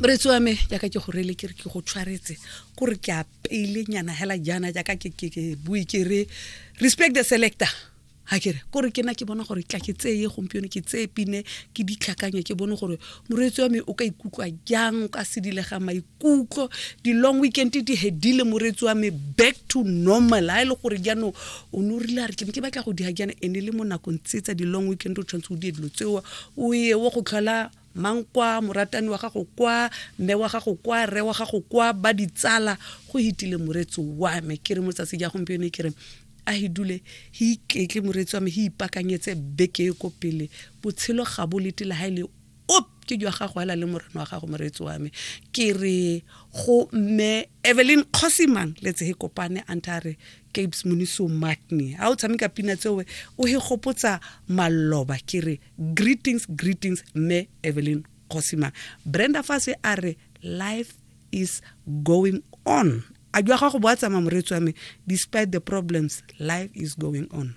Moreetsi wa me, jaaka ke go reele ke re ke go tshwaretse, kore ke a peile nyana hela jaana, jaaka ke ke ke bue ke re respect the selector. Ha ke re kore ke na ke bona gore tla ke tseye gompieno, ke tseye pine, ke ditlhakanye, ke bone gore moreetsi wa me o ka ikutlwa jang, o ka sedilega maikutlo. Di-long weekend di hedile, moreetsi wa me, back to normal. Ha e le gore jaanong o ne o rile a re ke ne ke batla go diga jaana, ene le mo nakong tse tsa di-long weekend o tshwanetse o die dilo tseo, o ye o go tlhola mang kwa moratani wa gago, kwa mme wa gago, kwa rre wa gago, kwa ba ditsala. Go hitile, moreetsi wa me. Ke re motsatsi ja gompieno ke re a he dule he iketle, moreetsi wa me, he ipakanyetse beke e ko pele. Botshelo ga bo lete le ha e le op ke jwa gago hela le morena wa gago. Moreetsi wa me, ke re go mme Evelyn Kgosimang letse he kopane anta re Capes Moniso Matney, ha o tshameka pina tseoe o he gopotsa maloba. Ke re greetings, greetings, mme Evelyn Kgosimang. Brenda Fase a re life is going on. A jwa gago bo a tsamaya, moreetsi wa me. Despite the problems, life is going on.